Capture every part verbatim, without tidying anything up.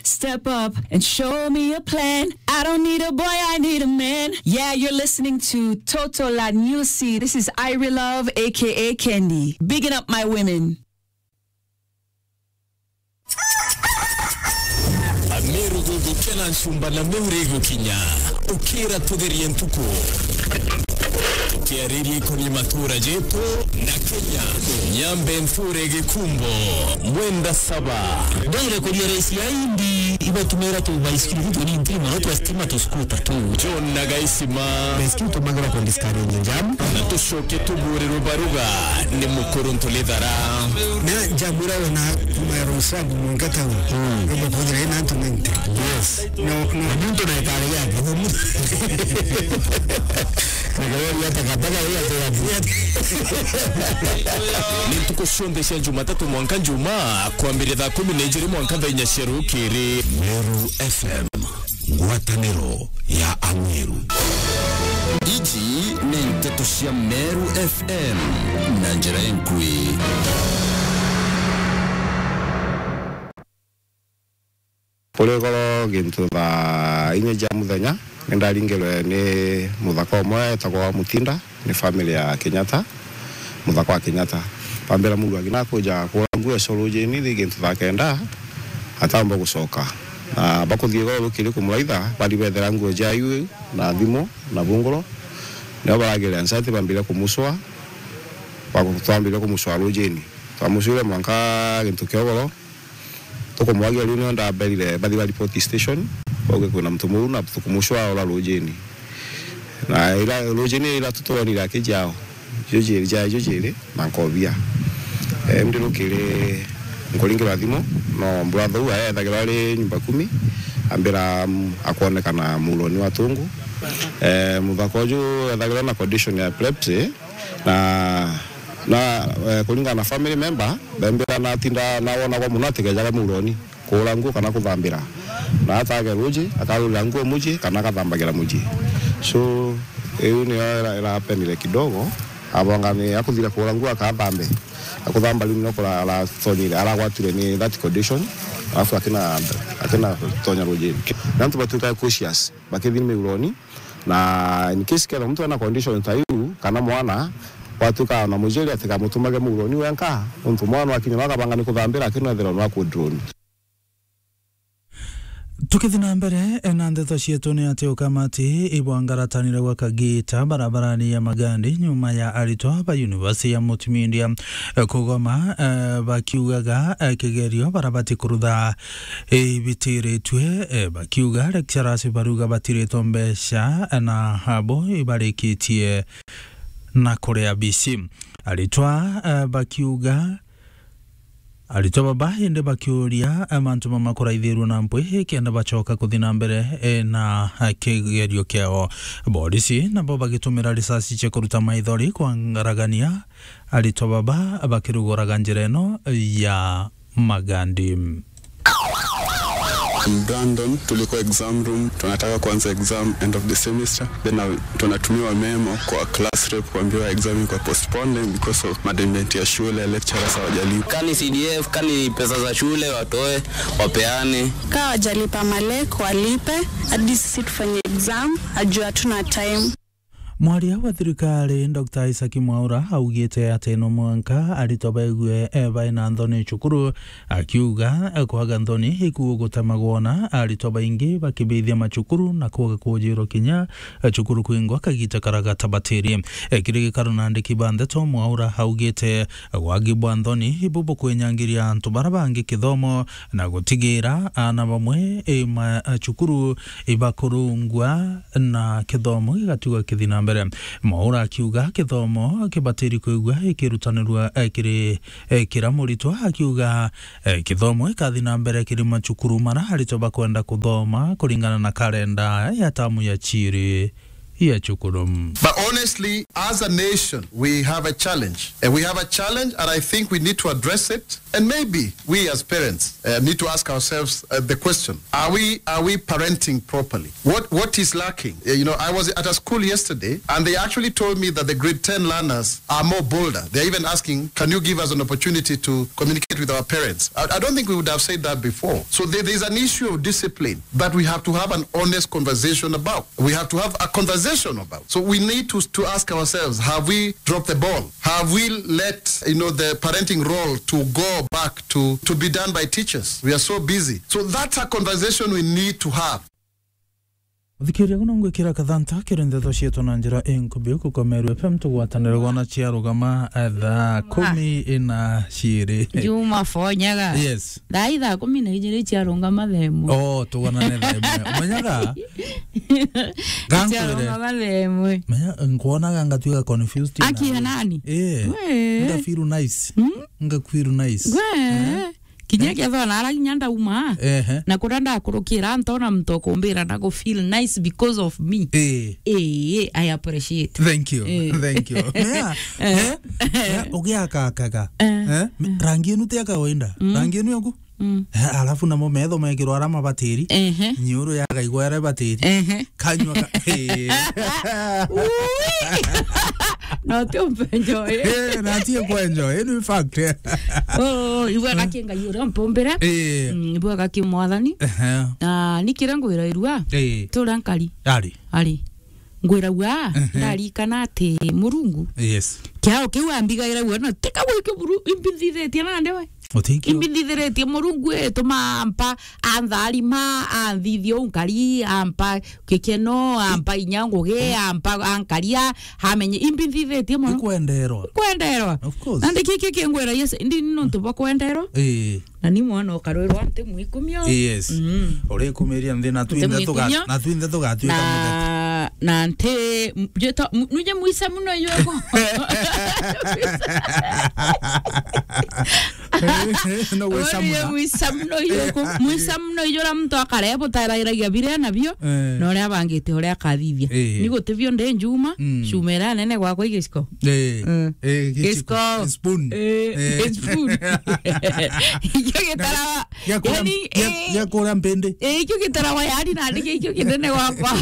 Step up and show me a plan. I don't need a boy, I need a man. Yeah, you're listening to Toto La Nyusi. This is Irie Love, A K A Kendi. Bigging up my women. Ameru gugukia na nchumba na meuri gukinya. Ukira tugerie ntuku. Tukiaririe ikoni matura jetu na Kenya. Nyambe nture gikumbo. Mwenda saba. Ndere kuria raisi ya indi ibatumira tu baisikiri tu ni ntima no twa stima tu skuta tu. John na Gaisima. Baisikiri tumagira ku discourage jam. Na tucoke tubure rubaruga ni mukuru ntulithara. Na jam ira wona kuma ya Rosabu mwanka town. Mm. Ruba kuthira ina antu ninety. Yes. No, no. Muntu na ikari yake. Ni ntuku cionthe cia Jumatatu mwanka Njumaa, kwambiria thaa kumi na ijiri mwanka thaa inya cia rukiri. Meru F M, ngwataniro ya Ameru. Iji ni nteto cia Meru F M na njira inkui. Kuri goro gintu thaa inya cia muthenya, ni ndaringirwe ni muthaka umwe etagwa Mutinda, ni family ya Kenyatta, muthaka wa Kenyatta. Bambira muru agina kuja kura nguo eco rujini, thi gintu thaa kenda, atamba gucoka. Na bakuthie goro rukiri kumuraitha, bari bethera nguo cia iu na thimu na bunguro. Nio baragirira nsati, bambire kumucwa, baku-, twambire kumucwa rujini. Twamucwire mwanka gintu kia ugoro, tukumwagia riu nio ndaberire bathi ba report station, bauge kwina muntu muru na tukumucwa ora rujini. Na ira rujini ira tutwonire akijao, jujiri, jaa jujiri, na nkobia. Eh, ndi rukiri nkuringirwa thimu, no brother uu ethagirwa ari nyumba kumi, ambira, mm, akwonekana muroni wa tungu. Eh, muthaka uju ethagirwa na condition ya epilepsy, na, na, eh, kuringana na family member, bembira natinda nawonagwa muno atigejaga muroni kuura nguo kana kuthambira. Na atage ruji, akarurira nguo muji, kana agathambagira muji. So, iu niyo ira-, irapenire kidogo, abonga ni akuthira kuura nguo akathambe. Akuthamba riu nio kura-, aratonyire, aragwatire ni that condition, alafu akina, akina tonya rujini. Na antu batuika cautious, bakithi miuroni, na in case kethira muntu ena condition ta iu, kana mwana, gwatuika na mujiri atigamutumage muuroni wenka, nontu mwana wakinya no akabanga ni kuthambira, akina ethirwa no akudroni. Tukithi na mbere, na ndeto cietu ni ati ukamati ibwangaratanire gwa Kagita barabarani ya Magandi nyuma ya aritwa ba University ya Multimedia, eh, kugoma, eh, bakiugaga, eh, kigerio barabati kurutha, eh, ibitiritue, eh, bakiuga lecturers baruga batiritwe mbeca, eh, na abo ibarikitie na kuria B C. Aritwa, eh, bakiuga Aritwa baba indi bakiuria, eh, mantu mamakuraithirue na mpwi kenda bacoka kuthi na mbere, eh, na, eh, kigerio kiao. Borisi nabo bagitumira risasi cia kuruta maithori kwangaragania aritwa baba bakiruguraga njira ino ya Magandi. I'm Brandon, tulikuwa exam room, tunataka kuanza exam end of the semester. Then I tunatumiwa memo kwa class rep kuambiwa exam iko postponed because of management ya shule, lecturers hawajalipa. Kani C D F, kani pesa za shule watoe, wapeane. Kaa wajalipa malek, walipe, hadi sisi tufanye exam, ajua hatuna time. Mwaria wa thirikari, Doctor Isaac Mwaura, augite ati no mwanka aritwa baigue, eh, baina nthoni cukuru, akiuga, eh, kwaga nthoni ikuo gutemagwa na aritwa baingi bakibithia macukuru na kwaga kujirwa kinya, eh, cukuru kwingwa kagita kara gatabatirie. Eh, kiri gikaro na andiki ba ndeto, Mwaura augite, eh, wagi bwa nthoni ibu bukwinyangiria antu bara bangi kithomo na gutigira ana bamwe, eh, ma, eh, cukuru ibakurungwa na kithomo gigatigwa kithi na mbere. Mwaura akiuga kithomo kibatiri kwigua ikirutanirua, eh, kiri, eh, kira muritwa, akiuga, eh, kithomo gikathi na mbere kiri macukuru mara aritwa bakwenda kuthoma kuringana na karenda ya tamu ya ciri ya cukuru. But honestly, as a nation, we have a challenge. And we have a challenge, and I think we need to address it. And maybe we as parents uh, need to ask ourselves uh, the question, are we, are we parenting properly? What, what is lacking? Uh, you know, I was at a school yesterday and they actually told me that the grade ten learners are more bolder. They're even asking, can you give us an opportunity to communicate with our parents? I, I don't think we would have said that before. So there, there's an issue of discipline that we have to have an honest conversation about. We have to have a conversation about. So we need to, to ask ourselves, have we dropped the ball? Have we let, you know, the parenting role to go back to, to be done by teachers? We are so busy. So that's a conversation we need to have. Uthikiria guno ngwikira kathanta kiri ndeto cietu na njira inkubi uku kwa Meru F M, tugwatanire gwana ciarugama, eh, thaa kumi na ciiri. Juma fonyaga. Yes. Thaa ithaa kumi na ijiri ciarungama thaa imwe. Oh, tugwanane thaa imwe. Umenyaga? Gankwire. Ciarungama thaa imwe. Menya, nkwonaga ngatuika confused. Aki na ya nani? Eh. We. Nga feel nice. Hmm? Nga feel nice. We. Eh? Kinya kethwa nara kinya ndauma. Ehe. Na kuria ndakurukira, ntona muntu ukumbira na ku feel nice because of me. Eh. Eh, I appreciate. Thank you. Eh. Thank you. Yeah. Eh. Eh? Eh? Ugiakakaga. Eh. Eh? Mi-, rangi inu ti ya kawaida. Mm. Rangi inu yaku? Mm. Eh, alafu namo metho mekirwa alama batiri. Ehe. Nyiuru yakaigwa ere batiri. Ehe. Kanywa ka-, eh. Ui. Na ti umpenjo, eh. Eh, na ti kwenjo, eh, ni fact. Oh, ibwega ki Ngai uria umpumbire. Eh. Mm, ibwega ki Mwathani. Ehe. Na ni kiria ngwira irua. Eh. Turia nkari. Ari. Ari. Ngwiragua, ehe, ndarikana ati Murungu. Yes. Kiao kiu ambigaira guo, no, tika gwikio buru, imbi nthithitie nande we. Utikio. Imbi nthithiritie Murungu, ituma ampa, antharima, anthithia unkari, ampa gikeno, ampa inya ngugi, ampa ankaria, amenye imbi nthithitie mono. Ikwenderwa. Ikwenderwa. Of course. Nandi kiki kingwira, yes, ndi ni nontu bwa kwenderwa. Eh. Na ni mwana ukarwirwa nti mwikumio. Yes. Mm. Urikumiria nthi na twinthe tuga-, na twinthe tugatuika muthetu. Na, na nti, m-, jeta, m-, nuje mwisa muno yuko. No gwisa muno. Mwisa muno yuko. Mwisa muno yura muntu akare butarairagia biria nabio. Eh. Na uria abangite uria akathithia. Eh. Ni gutibio ndi njuma, mm, cuma iria nene gwakwa igiciko. Eh. Mm. Eh, giciko. Giciko. Spoon. Eh, eh, spoon. Ikio gitarawa. Gia kuria, yani, gia, eh, gia kuria mpindi. Eh, ikio gitarawa yani na ndike ikio kinene gwakwa.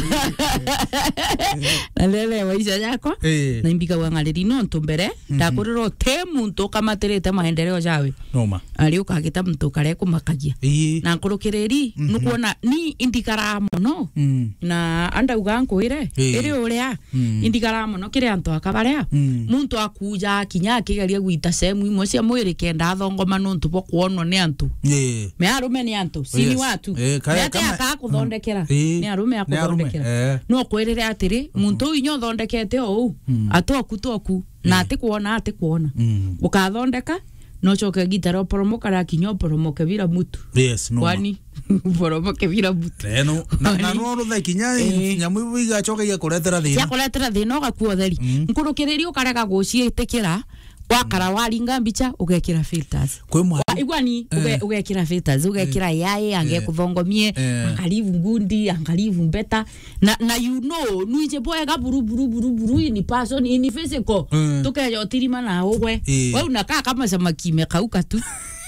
Na lele maisha yakwa. Eh. Na imbigagwa ng'ariri nontu mbere, mhm, ndakurirwo ti muntu ukamatirite maendeleo jawe. Noma. Ari ukagita muntu ukare kumakagia. Ii. Na nkurukiriri, mhm, nukwona ni indigara mono. Mm. Na andauga nkwire, eh, iri uria, mm, indigara mono kiri antu aka baria. Mm. Muntu akuja kinya akigeria gwita sehemu imwe cia mwiri kenda athongoma nontu bwa kwonwa ni antu. Eh. Me arume ni antu, si ni watu. Yes. Eh, kaya. Me ati kama, akaga kuthondekera. Mm. Eh. Ni arume akuthondekera. Ni arume, eh. No kwirire atiri, mhm, muntu uyu inya uthondekete o uu, mm, atoku toku, na, eh, atikwona, atikwona. Mm. Ukathondeka, no coke gitara uporomoka, rakinya uporomoke bila mutu. Yes, no. Kwani uporomoke bila mutu. Eh, no. Na, na no ruthe kinya, eh, nyamu ibu igacoka igakuretera thina. Cia kuretera thina, ugakua utheri. Mm. Nkurukiriri ukarega guciitikira, wakara waringa mbica, ugekira filters. Kwi mwa-, igwani, uge-, eh, ugekira filters, ugekira, eh, A I, ange, eh, kuthongomie, eh, angalivu ngundi, angalivu mbeta. Na, na you know, nwiji bwega buru, buru, buru, buru in person, in physical. Mm. Tukeja utirima na ugwe. Eh. We unakaa kama samaki imekauka tu.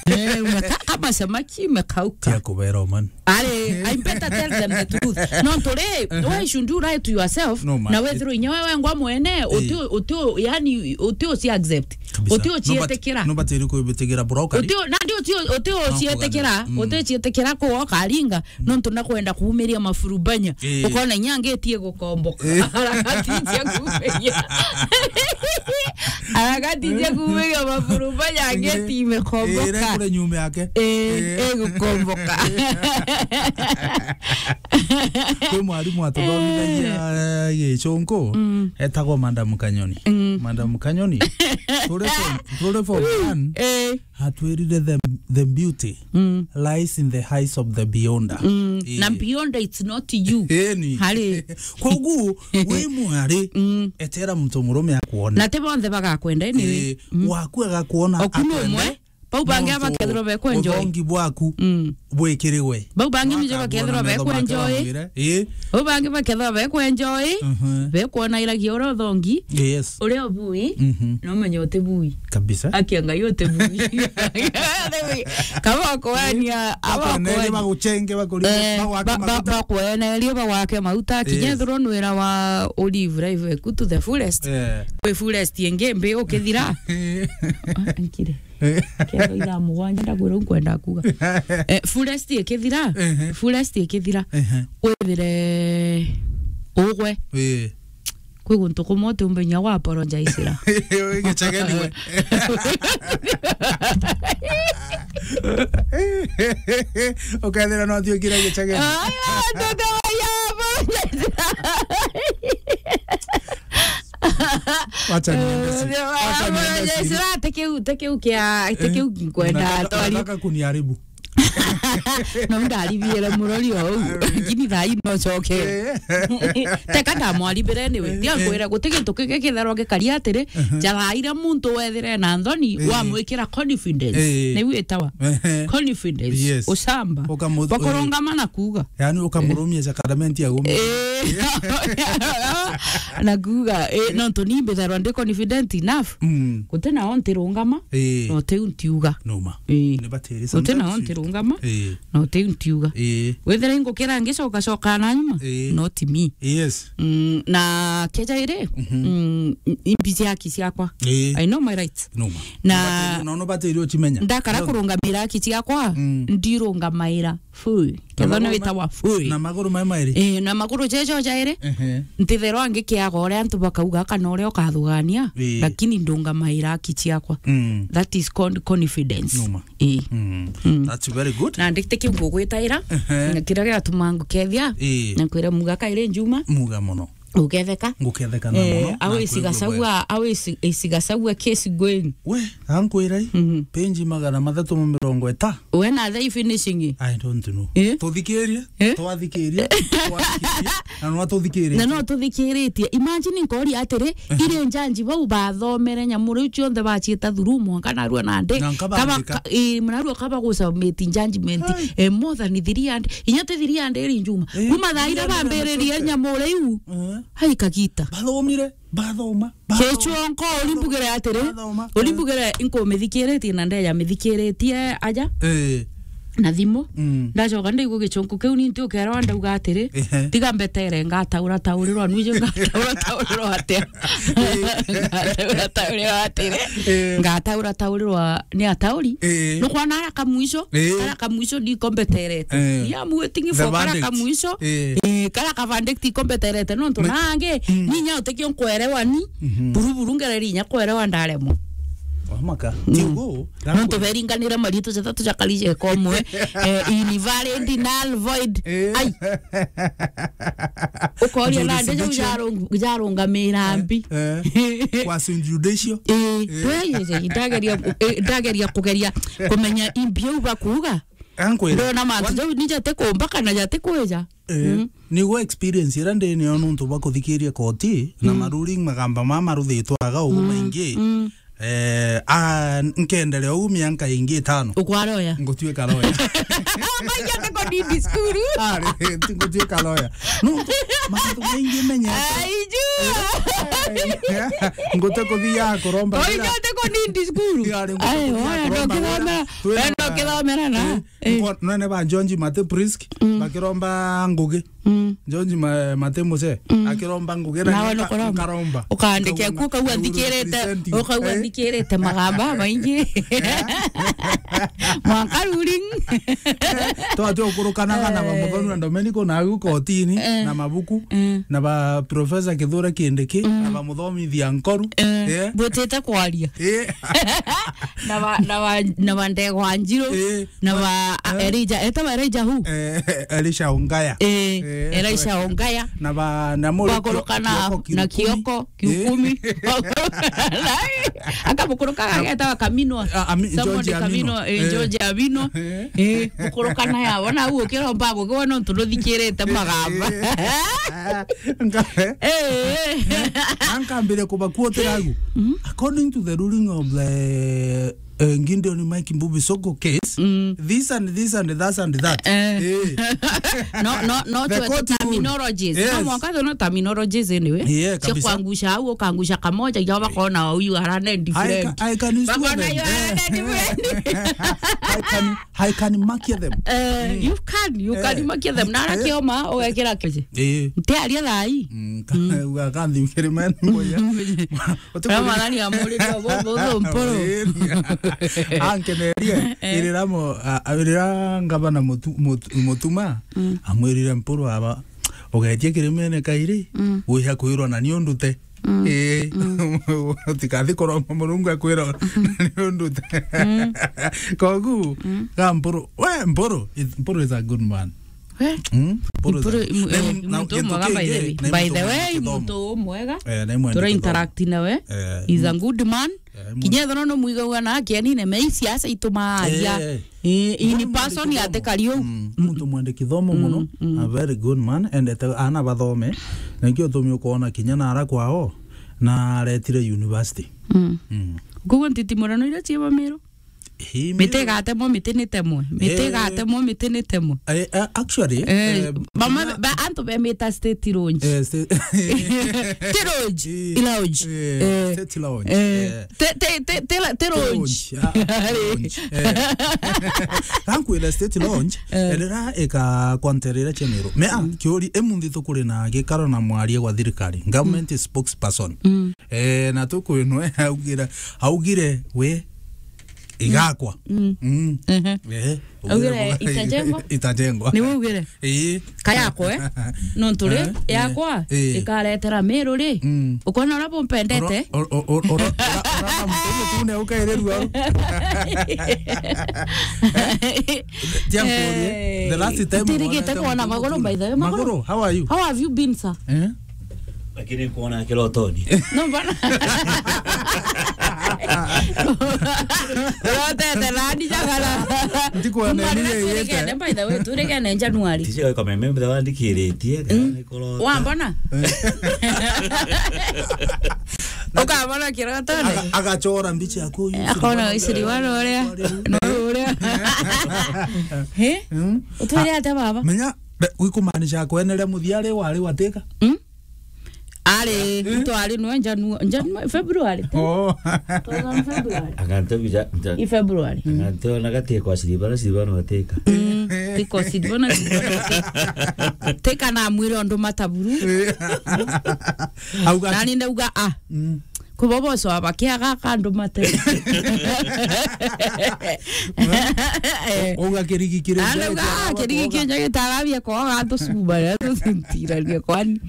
Eh, unakaa kama samaki imekauka. Tia kubera man. Are, I better tell them the truth. No, nturi, uh-huh, why should you lie to yourself? No, man. Na wethirwo inya wewe ngwa mwene, eh, uti, uti, yani, uti uci accept. Kabisa. Uti ucietikira. No, but, no, but iri kwibitigira broker. Uti, nandi uti, uti ucietikira, mm, uti ucietikira kuoka aringa. Nontu nakwenda kuumiria mafurubanya. Eh. Ukona inya angetie gukomboka. Eh. Arakatithia kuumiria. Arakatithia kuumiria mafurubanya, eh, angeti imekomboka. Eh, ira kule nyuma yake. Eh, eh, igukomboka. Kwi mwarimu atuthomithagia, eh, Gicungu, mm, etagwo Madam Kanyoni. Mm. Madam Kanyoni. Turi form, turi form one. Eh. Atwirire the, the beauty, mm, lies in the eyes of the beyonder. Mm. Eh. Na beyonder, it's not you. Eh, ni. Hari. Kogu, wi mwari, mm, etera muntu murume akuone. Na ti bonthe bagakwenda, anyway. Eh, mm, waku agakuona, oku ni akwende, umwe. Bau bangi nontu bakethirwa bekwenjoy. Uthongi bwaku Mm. bwikirigwe. Bau bangi nijo bakethirwa bekwenjoy. Ii. Bau bangi bakethirwa bekwenjoy. Mhm. Bekwona iragia uria uthongi. Yes. Uria ubui. Mhm. No menye uti bui. Kabisa. Akia Ngai uti bui. Kaba kwania, aba kwania. Baguchenge, bakuri-, eh, bagwake ba-, ba-, maguta. Bakwenerio bagwake mauta, kinya ethirwa nwira wa olive life eku to the fullest. Eh. Kwi fullest ingi mbi ukithira. Ah, nkire. Kethira ithaa mugwanja ndakwira u nkwenda kuga. Eh, fullest ikithira, ehe, fullest ikithira, ehe, withire ugwe. Ii. Kwi guntu kumwe utiumbe inya gwa apologize-ra. Gicegeni we. Ukethira no tuikire gicegeni. Aya, tukawaia apologize-ra. Wacha niende si-, eh, wacha niende si-, apologize-ra, te kiu, te kiu kia, te kiu nkwenda, nataka, twari- nataka kuniharibu. No ndaribiere murori ou. Lakini thaa ii no coke. Eh. Teka ndamwaribire anyway. Eh, tia nkwira, eh, guti gintu kingi kitharwa gikari atiri, mhm, njara iria muntu wethire na nthoni, eh, wamwikira confidence. Eh. Niu itawa. Eh. Confidence. Yes. Ucamba. Ukamu-, bakurungama na kuuga. Yani ukamurumia sacrament ya gumi. Eh. Na kuuga, eh, nontu ni mbitharwa ndi confident enough. Mm. Guti nao ntirungama, eh, no tiu ntiuga. Numa. Ii. Ni batiri. Uti nao sometimes ntirungama, ii, no tiu ntiuga. Ii. Wethira ingukira ngicoka coka na nyuma, ii, no ti mi. Yes. Mm, na keja iri, mhm, mm, imbi cia haki ciakwa. Ii. I know my rights. Numa. Na batiri, no, no batiri uchimenya. Ndakara kurungamira haki ciakwa, mm, ndirungamaira. Full. Na kethwa maguru ni ma-, witawa full. Na maguru mai mairi? Eh, na maguru jejo jairi. Ehe. Ntitherwa ngikiaga uria antu bakauga kana uria ukathugania, eh, lakini ndungamaira haki ciakwa. Mm. That is con-, confidence. Numa. Eh. Mm. Mm. That's very good. Na ndikite kiu ngugwitaira, ehe, na kiria giatuma ngukethia, eh, na kwira muga kairi njuma. Muga muno. Uketheka. Nguketheka na muno, eh, na au kwigua isigasagua, bwega. Au isi-, isigasagua kesi going. We, ankwira i, mhm, page magana mathatu ma mirongo ita. We na thaa ii finishing. I don't know. Eh? Tuthikirie, eh? Twathikirie, twathikirie, na no tuthikiritie. Na no tuthikiritie. Imagine nkori atiri, eh, iri njanji bau bathomere nyamu riu cionthe baciita through mwanka narua nandi. Na nkabandika. Kaba-, ka-, ii, narua kaba gusubmit judgment, ai, eh, more than three hundred. Inya ti three hundred iri njuma. Eh, kuma thaa iria three hundred bambiririe nyamu riu. Eh. Hai kagita. Bathomire. Bathoma, bathoma. Kichonko, ulimbugire atiri, bathoma, ulimbugire inkumithikiritie na ndeja mithikiritie aja, eh, na thimu. Mm. Ndacoka ndaigua gichonko kiu ni nti ukerwa ndauga atiri, ehe, tiga mbetere ngataura taurirwa nwije ngataura taurirwa atia. Eh. Ngataura taurirwa atiri. Eh. Ngataura taurirwa ni atauri. Eh. Nukwona ara kamwisho, eh, ara kamwisho ndiko mbeterete. Eh. Ni amu waiting for kara kamwisho. Eh. Eh, kara ka verdict iko mbeterete nontu nangi, mm, ninya utikio nkwerewa ni, mhm, buru buru ngereri inya kwerewa ndaremwa. Wamaka. Mm. Tiugo, nontu beringanire maritu jathatu jakarije komwe, eh, invalid, null, void. Eh. Ai. Ukoria nande jau jarung-, jarungamira mbi. Eh. Kwa Saint Judicio. Eh, eh, ndageria, eh, ndageria kugeria kumenya imbi au bakuuga. Ankwira. Ndona mantu jau ni jati kumba kana jati kwija. Eh, mm, niguo experience iria ndi nayo nontu bwa kuthikiria koti na, mm, ma ruling magamba mama maruthitwaga ugu, mm, maingi. Mm. Eh, a, nkenderea ugu mianka ingi itano. Ukwara oya? Ngutuika roya. Maija tiko nindi cukuru. Ari, ti ngutuika roya. Nontu mantu maingi menyete. Aiju. Eh, ngute kuthia kuromba wira. Oija tiko nindi cukuru. Ari, ngute kuthia kuromba wira. Ai, oya, ndokithomera. Twina, wenda ukithomera na? Eh. Eh. Nko-, nene ba George Mate Prisk, mm, bakiromba ngugi. Mm. George Ma-, Mate Muse, mm, akiromba ngugi na nawe nka-, nukuromba. Nkaromba. Ukandike ku ukauga nthikirite, ukauga nthikirite magamba maingi. Eh. Mwanka ruling. Twatio ukurukanaga na, eh, Muthoni na Domenico na au kotini, eh, na mabuku, eh, na ba Professor Kithure Kindiki, mm, na ba Muthomithia Nkoru. Eh. Eh. Butite kwaria. Eh. Na ba, na ba, na ba Ndegwa Njiru. Eh. Na ba, eh, Elijah, etawa Elijah who? Eh, Elisha Ongaya. Eh, eh, Elisha Ongaya. Na ba, na Mori Kioko, na Kioko, Kiukumi. Eh. Akamukuruka agetawa Kaminwa. Ah, Ami-, Samuel George Amino. Kaminwa, eh, eh, George Amino. Eh. Eh, mukuruka naye, wona u ukiromba gukiwa nontu nuthikirite magamba. Eh. Nka-, eh. Eh. Na nkambire kubakuotera agu. Mm. According to the ruling of the eh, Gideon Mike Mbuvi Sonko case, mm, this and this and that and that. Eh. Eh. No, no, no, the court rule. Terminologies. Yes. No, mwanka no terminologies anyway. Yeah, cia kabisa. Kuangusha au, ukaangusha kamoja, ya bakona huyu arane different. I ca-, I can sue them. Bakona huyu arane different. I can, I can mark them. Eh, mm. You can, you can mark them. Eh. Na ara kioma, ugekira kije. Eh. Ntiaria thai. Mm, ka-, mm. Uga kanthi mkiri men moya. Kama nani amuriria bo, bo, bo, mpuru. Ankenerie, eh, irira mo, a, a, irira ngavana Mutu-, Mutu-, Mutuma, mm, amwirire Mpuru aba, "Ugetie kirimene kairi, mm, wiha kwirwa na ni undute." Mm. Eh, mm. Utikathi kuromba Murungu akwira na ni undute. Mm. Kogu, mm, ga Mpuru, we Mpuru, it-, Mpuru is a good man. We? Mm? Mpuru is a, Mpuru, mu-, na, eh, na, muntu kintu mwega, by the way. Kingi, na muntu mwega kithomo. By the way, muntu mwega. Eh, na imwe tura interact nawe. Eh, he's a good man. Eh, kinya ethirwa no mwigagua na akianine, me isiasa itumaria. Eh, eh. Eh, in person atikari u. Mm, muntu mwende kithomo muno, mm, mm, a very good man, endete ana bathome. Na nikio utumi ukoona kinya na ara kwao, na aretire university. Mm. Mm. Koguo ntitimurano iria ciiba Miru? Hii Miru. Miti igatemwo, miti ni temwe. Miti, eh, igatemwo, miti ni temwe. Eh, eh, actually, eh, eh, bamwe, ba-, antu bemita state lounge. Eh, sta-, ti lounge, eh, i lounge. Eh, eh, state lounge. Eh, eh. Ti, ti, ti, ti la-, ti lounge. Ti lounge. Ah, ah, lounge. Eh. Gankwira state lounge, eh, erira ika kwanterera cia Miru. Me, ah, mm, kiuri, imunthi tukuri na gikaro na mwaria gwa thirikari, government, mm, spokesperson. Mm. Eh, na tukwinwe augire, augire we igakwa. Mm. Mm. Ehe. Eh, augire itajengwa? Itajengwa. Ni we ugire? Ii. Kayakwa, eh? Nontu ri, eh, yakwa, eh, ikaretera Miru ri. Mm. Ukona uria bumpendete? Ora, ora, ora, ora, ora, ora, ora, ora, ora, ora, tia nkurie. Eh, the last time utirigite wonete kwona Maguru, by the way. Maguru, how are you? How have you been, sir? Eh? Lakini kuona kirotoni. No, bana. Urotete nani jagara? Ndikwona. Kuma riria niye turigene, yete, by the way, turigene January. Tije kwa meme mbe wandikiritie, mm, kana ni kurota. Wambona? Eh. Ukabona kirotoni? Aga-, agachora mbicha yaku, uyu. Eh, akona Isiri wari uria. No uria. He? Mm. Utwire atia baba? Menya, be-, wikumaanisha kweneria muthia ri wari watika? Mm? Ari, eh? Twari nwe Janu-, Janu-, February, ti? Oh. It was on February. Agantu bija, nja-, i February. Agantu na gati kwa siribana, siribana wateka. Mm, tiko siribana, siribana wateka. Teka na mwire undu mataburu. Eh. Auga nani ndauga, ah. Mm. Kuboboso abakiaga kandu mate. Uga kirigi kire. Ndauga, ah, kirigi kire gitagabia kwa gantu suba, ya tusintirania kwani.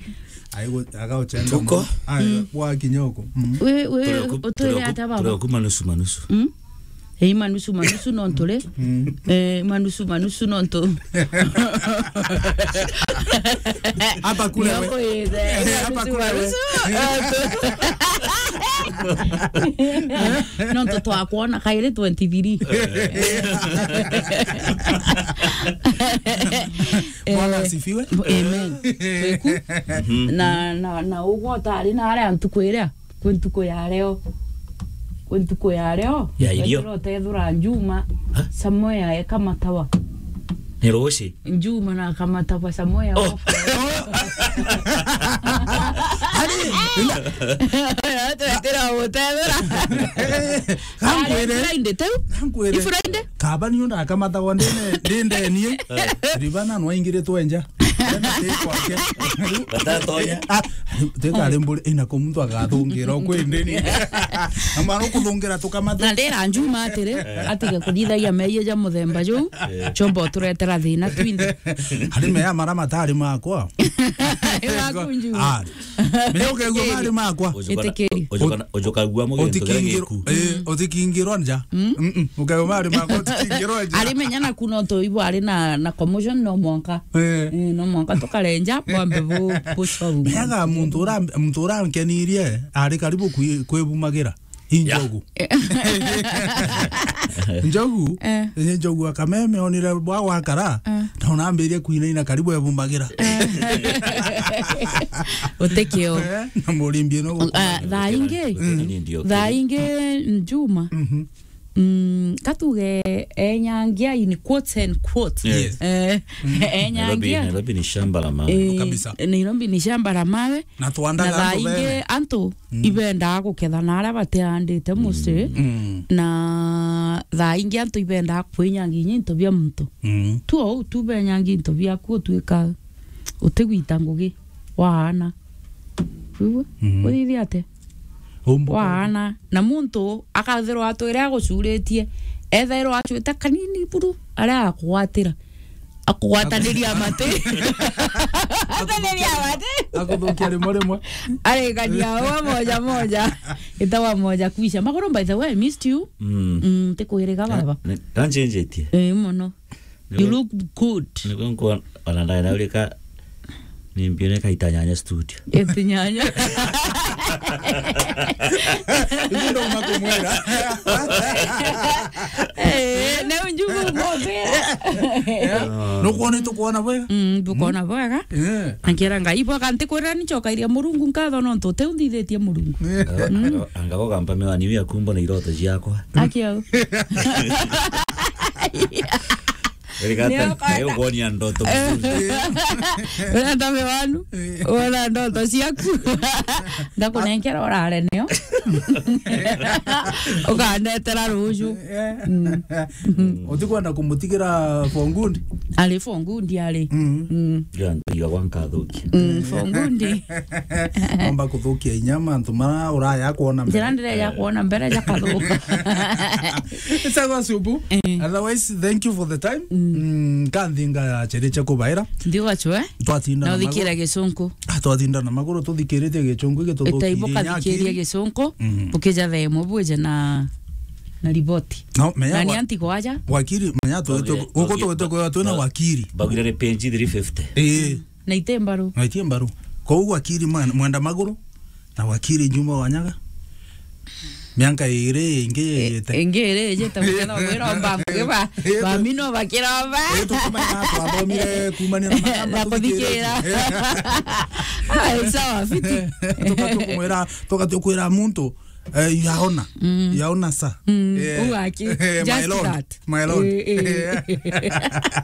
Aigo, agauchenga. Tuko. Ai, mm, wa kinyoko. Mm. We, we, turi oku-, utwire turi oku-, ata baba? Turi oku manusu, manusu. Mm? Eh, manusu, manusu no nturi. Mm. Eh, manusu, manusu no ntu-. Hapa kule we. Nyoko ithe. Eh, hapa manusu, kule we. Manusu no ntu. No ntu twakwona kairi twenty-three. Eh. Bwana asifiwe. Amen. Kweku. Mhm. Na, na, na ugwo utari na aria ntuku iria, kwi ntuku ya leo. Kwi ntuku ya leo. Ya irio. Wethira utethura Njuma, ha? Somewhere eka matawa. Ni ruci. Njuma na akamatawa somewhere. Oh. Ari, ina. Twetira utethura. Ari Friday, teu? Gankwire. I Friday? Kaba niyo ndakamatagwa ndine, ndindenie. Eh. Ribana no aingiritwe nja. Ndene ti kwake. Batatonya. Ah, teka ari mburi, ina ko muntu agathungira ukwendeni. Amara ukuthungira tukamata. Na ndira Njuma atiri, eh, atige kuthithagia meeyia ja muthemba juu, eh, chombo turetera thina twinthe. Ari meya mara matari makwa. Iwaku Njuma. Ah, menya ukegua mari makwa. Ujuka na-, itikiri. Ujuka na-, ujuka gua muge ntu kira giku. Utikingirwa, eh, utikingirwa nja. Mm? Mm-mm. Ukegua mari makwa, utikingirwa nja. Ari menya na kuna utu ibu ari na, na commotion no mwanka. Eh. Eh, no mwanka tukarenja, bwambe bu-, bucoru. Meaga muntu ura-, muntu urankenirie, ari karibu kwi-, kwibumagira. I njogu. Yeah. Njogu, eh, ni njogu akameme onire bwa gwakara, eh, na unambirie kuinaina karibu ebumagira. Eh. Utikio. Eh, na murimbi no. Ah, thaa ingi, mm, thaa ingi Njuma. Mhm. Mm, katuge enyangia in quotes and quotes. Yes. Eh, Nairobi, enyangia. Nairobi ni shamba la mawe. Eh, kabisa. Nairobi ni shamba la mawe. Na twandaga na thaa antu ingi bega. Antu ibendaa guketha na aria bateandite mucii. Mm. Na thaa ingi antu ibendaa kwinyangia into bia muntu. Mm. Tu ou tu benyangia into biaku utuika utigwita ngugi waana. Kwigua? Mm. Uthithia atia? Umbu- Waana. Na muntu akathirwa atwire agucuritie, ethairwa acwite kanini buru aria akugwatira. Akugwataniria mati. Ataniria mati. Akuthukia rimwe rimwe. Arikania wa moja moja. Itawa moja kuisha. Maguru, by the way, I missed you. Mm. Mm, tikuiriga baba. Ni- ni- Kancenjetie. Eh, mono. You look good. Niguo nkuona ona ndae na urika ni mbione kaita nyanya studio. Eti nyanya. Ibu ndo makumwera. Eh, na unjugu mobera. Nukwona tukwona bwega? Mm, tukwona bwega. Eh. Ngira Ngai bwega ntikwira ni chokairia Murungu nkatho nontu uteundithitie Murungu. Anga- anga- anga gogampa miwani ya kumbo na iroto ciakwa. Akio. Erigata, nio kwenda. Nayo ukonia ndoto. Eh. Urenda miwanu? Eh. Wona ndoto ciaku? Ndakunenkera urare nio. Ukandetera ruju. Eh. Mm. Utikwenda kumutigira for good? Ari for good, ari. Mm. Mm. Ndio, ndio, gwa nkathukia. Mm, for good. Omba kuthukia inya mantu mara uraya kuona mbere. Njira ndireja kuona mbere jakathuka. Sawa, Subu. Eh. Otherwise, thank you for the time. Mm. Mm, kanthi ngachiriche kubaira. Ndio gachwe. Twatinda na maguru. Na uthikire gicunku. Ah, twatinda na maguru, tuthikiritie gicunku, gituthukirie inya akiri. Itaibuka thikiria gicunku, mm, ukija themo bwije na, na riboti. No, menya. Na ni wa-, anti kwaja. Wakiri, menya tu-, tu-, guku tugite kwithirwa twina wakiri. Bagire ni page three fifty. Eh. Na iti mbaru. Na iti mbaru. Kou wakiri mwen-, mwenda maguru, na wakiri Juma Wanyaga. Mianka iri ingi yijite. Ingi iri yijite, mukethwa mwiromba ngugi ba, eh, ba mino bakiromba. Eh, tukumenya twathomire kumania na magamba, na kuthikira. Eh. Ah, sawa, fiti. Tuka-, tukumwira, tuka-, tukwira muntu, eh, yaona. Mm. Yaona sa. Mm. Eh. Ugu aki. Eh, my lord. Just that. My lord. Eh, eh.